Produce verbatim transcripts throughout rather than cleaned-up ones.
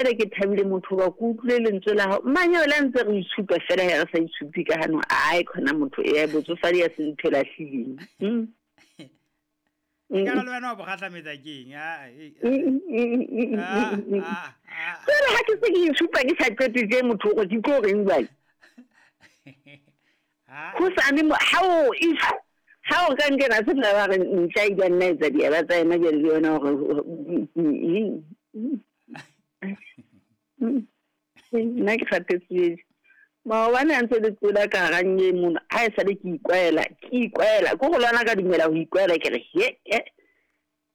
Jwale ke thabile motho hoba ke utlwile lentswe la hao. Manyeo le ha ntse re itshupa fela he re sa itshupe ka hanong. Ae khona motho e botsofadi ya se ntho e lahlileng. Mm. E ka re le wena wa bo kgahlametsa ke eng? Ah, eh, ah, ah, ah. Jwale ha ke se ke itshupa ke sa qete tje motho hore ke tlo reng jwale. Ah, Hosane mo ha o if ha o ka nkena se tla ba re ntja e ka nna etsa diaba tsa yena jwale le yona hore nna ke kgathetse. Maobane a ntse le tsola ka hara nye mona, ha e sale ke ikwaela, ke ikwaela, ke go lwana ka dumela ho ikwaela ke re he he.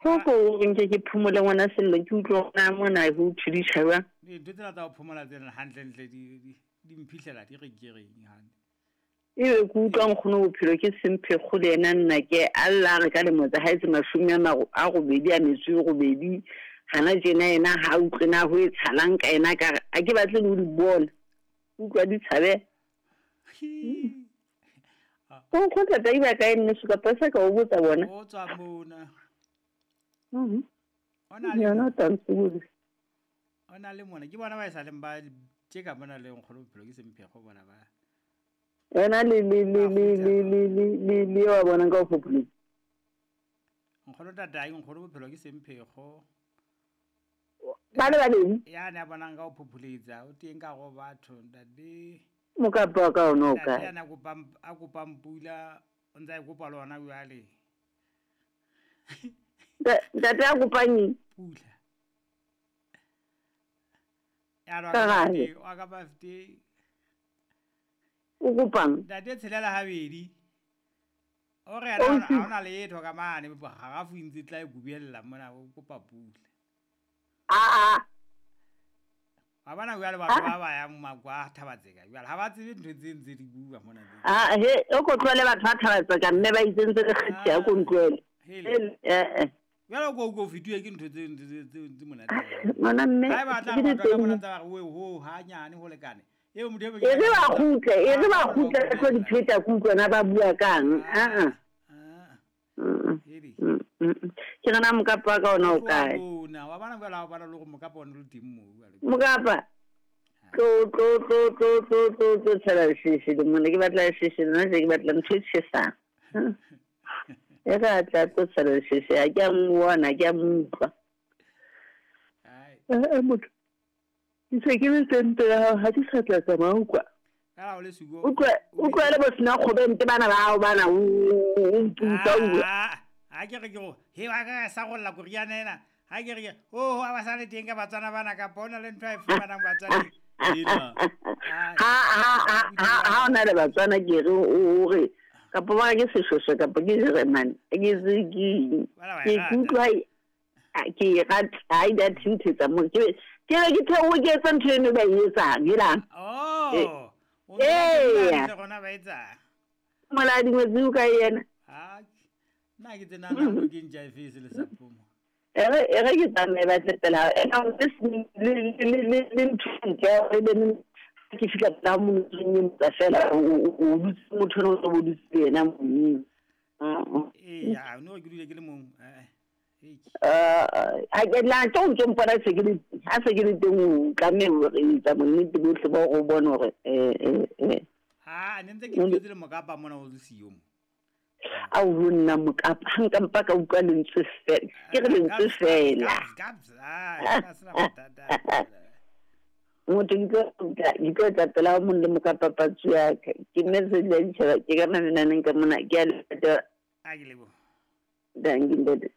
Ho ko o nke ke phomole ngwana Sello ke utlwe hore na mona ho thudisha jwang. Dintho tsena tsa ho phomola tsena hantlentle di di di mphihlela di re ke reng hantle. Ebe ke utlwa nkgono bophelo ke semphekgo le yena nna ke a lla a re ka lemo tsa hae tse mashome a maro a robedi a metso e robedi. Hana tjena yena ha utlwe na ho etsahalang ka yena ka re a ke batle le ho di bona. Utlwa di tshabeha. O nkgotla tsa iba kae nneso kapa sa ka o botsa bona? O tswa mona. Mhm. O na le Yona mona. o tla ntsebodisa. O na le mona. Ke bona ba e sa leng ba tjeka mona le nkgono bophelo ke semphekgo bona ba. Yena le le le le le le le le le wa bonang ka ho phopholetsa. Nkgono tatae, nkgono bophelo ke semphekgo. Ba le babedi? Ya ne a bonang ka ho phopholetsa, o teng ka go batho ntate. Mokapa wa ka ona o Ntate kae? ya na kopang a kopang pula, o ntse a e kopa le hona jwale. Ntate a kopang eng? Pula. Ya re wa Ka ka gare. birthday, wa ka birthday. O kopang? Ntate tshelela habedi. O re O yena ntse- ha hona letho ka mane, harafu e ntse e tla e kubiella mona o kopa pula. Ah ah. Wa bona jwale batho ba ba yang makwa a Thabatseka jwale ha ba tsebe ntho tse ntse di bua mona tse. Ah he o ko tlohele batho ba Thabatseka mme ba itsentse le kgetsi ya ko ntlohele. Hele. Eh eh. Jwale o ko o fetuwe ke ntho tse tse tse tse monate. Ngwana mme Ha e batla ke batho ka mona diteng. ntse ba re we ho hanyane ho lekane. Eo motho e be E re ba kgutle, e re ba kgutle re tlo di pheta ke utlwe na ba bua kang. Ah ah. Ah. Mm, Hele. mm, mm. Ke re na mokapa wa ka ona o kae? Bona, wa bona jwale ha o bona le hore mokapa ona o le teng moo jwale. Mokapa. Tlo tlo tlo tlo tlo tlo tlo tshela lesheshe le mona ke batla lesheshe nna se ke batla ntho e tjhesang. E re a tla tlo tshela lesheshe ha ke a mmona, ha ke a mo utlwa. Ai. Eh, eh, motho. Ke se ke le teng pela hao, ha ke sa tla tsamaya utlwa. Ka la o le siko. Utlwa utlwa le bo sena kgobente bana ba hao bana o o mputsa utlwa. Ah, ha ke re ke go he wa ka sa golla koriana ena. Ha ke re ke oh ha ba sa le teng ka Batswana bana kapa hona le ntho e fumanang Batswana. Ena. Ha ha ha ha ha ona le Batswana ke re o o re kapa ba ke Seshweshwe kapa ke Jeremane. Ke se ke Bana ba e ke rata. utlwa a- ke e rata ha e da thinthetsa mo ke ke re ke theohe ke etsa ntho eno ba e etsang helang. Oh. O Eya. ntse rona ba etsang. Moladi ngwetsi o kae yena? Ha. Nna ke tsena na ke ntja e fese le sapomo. E re e re ke tsamaye ba tle pela hao. Ena o le le le le le ntho e ntle ya hore ebe neng ke fihla pela hao mono o nyenyetsa fela o o o dutse motho eno o tlo bo dutse le yena mono. Mm. Eh ya, no ke dule ke le mong. Eh. Eh. Ah, ha ke la tlo ntso mpona se ke le ha se ke le teng o tlameha hore etsa bonnete bohle ba hore o bone hore eh eh eh Ha, ne ntse ke dutse le mokapa mona o le siyo mo. Ao ho nna mokapa ha nka mpa ka utlwa lentswe fela ke re lentswe fela. Gabs, ah, ka sena bothata. Motho ke tlo tla ke tlo tla pela ho mong le mokapa patsi ya ka. Ke message ya ditjhaba ke ka mamenaneng ka mona ke a leta. A ke leboha. Dankie ntate.